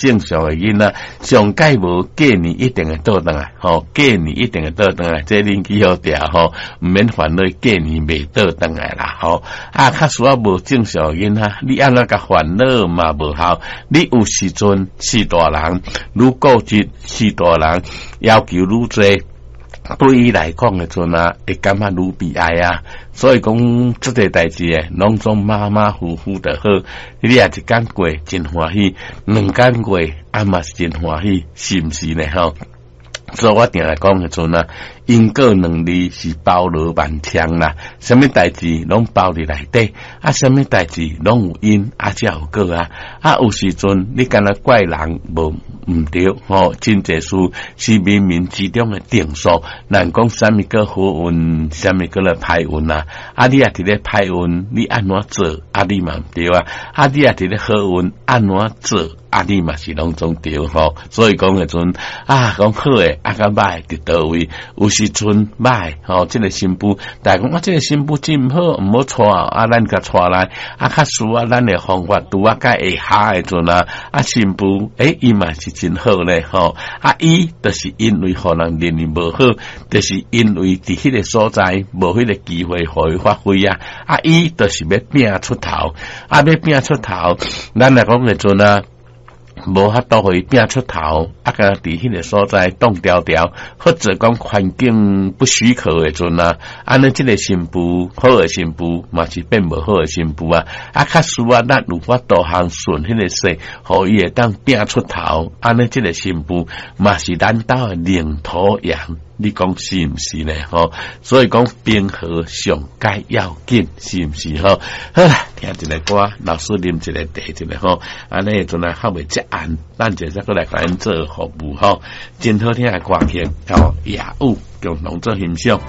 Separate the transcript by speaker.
Speaker 1: 正常的囡仔，上蓋無過年一定會倒轉來，吼，過年一定會倒轉來，這恁記好著吼，毋免煩惱過年袂倒轉來啦，吼。啊，較需要無正常的囡仔，你按怎共煩惱嘛無效。你有時陣是大人，愈固執是大人，要求愈濟。對伊來講的陣啊，會感覺愈悲哀啊。所以講，這個代誌的，攏總馬馬虎虎就好。你也一工過真歡喜，兩工過啊嘛是真歡喜，是毋是呢？吼？所以我定來講的陣啊，因果兩字是包羅萬象啦，啥物代誌攏包佇內底，啊，啥物代誌攏有因，啊，才有果啊。啊，有時陣你干焦怪人無毋對，吼，真濟事是冥冥之中的定數。咱講啥物叫好運，啥物叫做歹運啊？啊，你也佇咧歹運，你按怎做？啊，你嘛毋對啊！啊，你也佇咧好運，按怎做？啊，你嘛是攏總對吼。所以講的陣啊，講好的啊，佮歹佇佗位？有時陣歹吼，這個新婦，大家講啊，這個新婦真毋好，毋好娶啊，咱共娶來啊，較輸啊，咱的方法拄啊，較會合的陣啊，啊，新婦欸，伊嘛是真好咧吼。啊，伊就是因為予人認為無好，就是因為佇彼個所在無彼個機會予伊發揮啊。啊，伊就是欲拼出頭，啊，欲拼出頭，咱來講的陣啊。無法度予伊拼出頭，啊，共佇彼個所在擋牢牢，或者講環境不許可的陣啊，按呢這個新婦好的新婦嘛是變無好的新婦啊，啊，較輸啊，咱有法度通順彼個勢，予伊會當拼出頭，按呢這個新婦嘛是咱兜的領頭羊。你講是毋是呢？吼，所以講平和上蓋要緊，是毋是？吼，好啦，聽一個歌，老師啉一個茶，一個吼，按呢陣來較袂遮暗，咱就再閣來共𪜶做服務吼，真好聽的歌曲，吼，夜雨共同做欣賞。